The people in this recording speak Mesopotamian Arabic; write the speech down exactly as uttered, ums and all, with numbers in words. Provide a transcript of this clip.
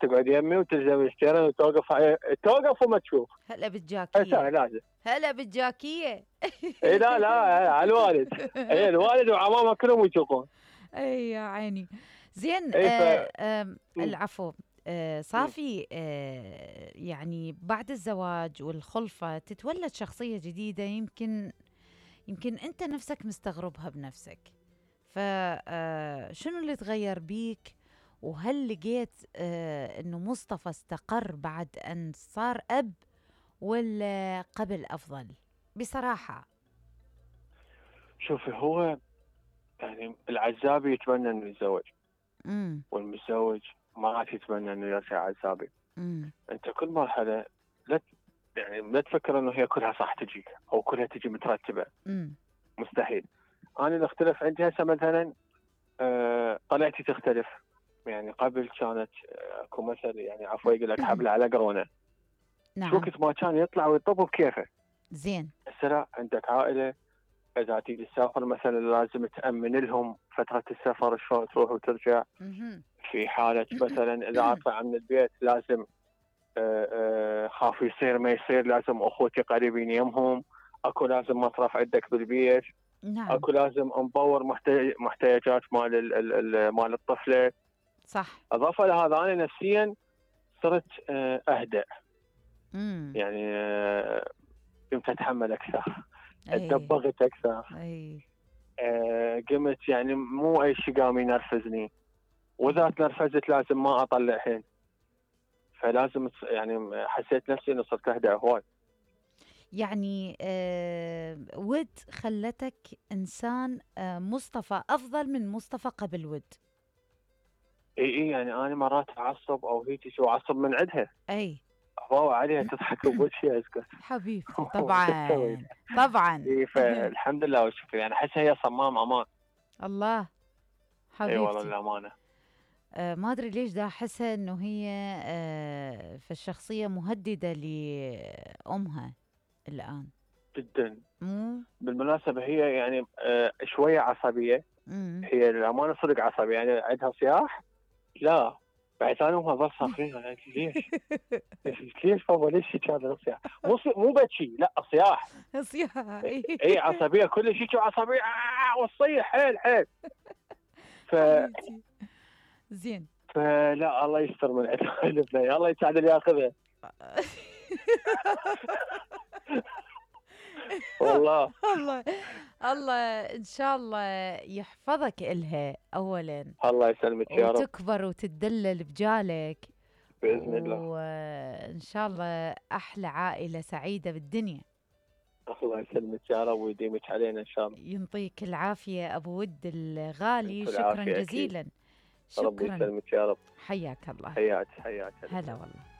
تقعد يمي وتلزم الستيرن وتوقف ع- توقف وما تشوف. هلا هسه بالجاكيه، لازم. هلا بالجاكيه. اي لا لا على الوالد. اي الوالد وعمامه كلهم يشوفون. اي يا عيني. زين، اي ف آه آه مم. العفو. آه مم. صافي، آه يعني بعد الزواج والخلفة تتولد شخصية جديدة، يمكن يمكن انت نفسك مستغربها بنفسك. فشنو اللي تغير بيك؟ وهل لقيت آه انه مصطفى استقر بعد ان صار اب، ولا قبل افضل بصراحة؟ شوفي، هو يعني العزابي يتمنى انه يتزوج، امم والمتزوج ما عاد يتمنى انه يرجع عزابي. امم انت كل مرحله لا ت- يعني لا تفكر انه هي كلها صح تجيك او كلها تجي مترتبه، امم مستحيل. انا اللي اختلف عندي هسه مثلا آه طلعتي تختلف. يعني قبل كانت آه، اكو مثل يعني عفوا يقول لك حبل على قرونه، شو نعم. وقت ما كان يطلع ويطب بكيفه. زين. هسه لا، عندك عائله اذا تيجي تسافر مثلا لازم تامن لهم فتره السفر شلون تروح وترجع. مهم. في حاله مثلا اذا اطلع من البيت لازم آه، آه، خاف يصير ما يصير لازم اخوتي قريبين يمهم. اكو لازم مصرف عندك بالبيت. نعم. اكو لازم مبور محتاج محتاجات مال ال- ال- ال- مال الطفله. صح. اضافه لهذا انا نفسيا صرت آه، اهدأ. امم يعني آه، قمت اتحمل اكثر، اي. اتدبغت اكثر. اي. آه، قمت يعني مو اي شيء قام ينرفزني، واذا تنرفزت لازم ما اطلع حين. فلازم تص- يعني حسيت نفسي انه صرت اهدأ هواي. يعني آه ود خلتك انسان، آه مصطفى افضل من مصطفى قبل ود. اي اي يعني انا مرات اعصب او هيك شو اعصب من عندها، اي. اضاوع عليها تضحك بوجهي اسكت. حبيبتي شو اسوي؟ طبعا. طبعا. اي فالحمد لله وشكرا، يعني احسها هي صمام امان. الله. اي والله حبيبتي. للامانه. آه ما ادري ليش دا احسها انه هي آه في الشخصية مهددة لامها الان. جدا. مو. بالمناسبه هي يعني آه شويه عصبيه. امم هي للامانه صدق عصبيه، يعني عندها صياح. لا، بعد انا وما بس صاخرين. أنا قلت ليش؟ ليش بابا ليش هيك هذا الصياح؟ مو صي- مو بكي، لا صياح. صياحي. اي عصبيه، كل شيء عصبيه آه وتصيح حيل حيل. ف حبيبتي. زين. فلا الله يستر من عندنا البنيه، الله يساعد اللي ياخذها. والله. الله. الله ان شاء الله يحفظك إلها اولا، الله يسلمك يا رب. وتكبر وتتدلل بجالك، باذن الله. وان شاء الله احلى عائلة سعيدة بالدنيا. الله يسلمك يا رب ويديمك علينا ان شاء الله. ينطيك العافية ابو ود الغالي، انت شكرا العافيه اكيد. جزيلا. ربي شكرا. يسلمك يا رب. حياك الله. حياك حياك. هلا والله.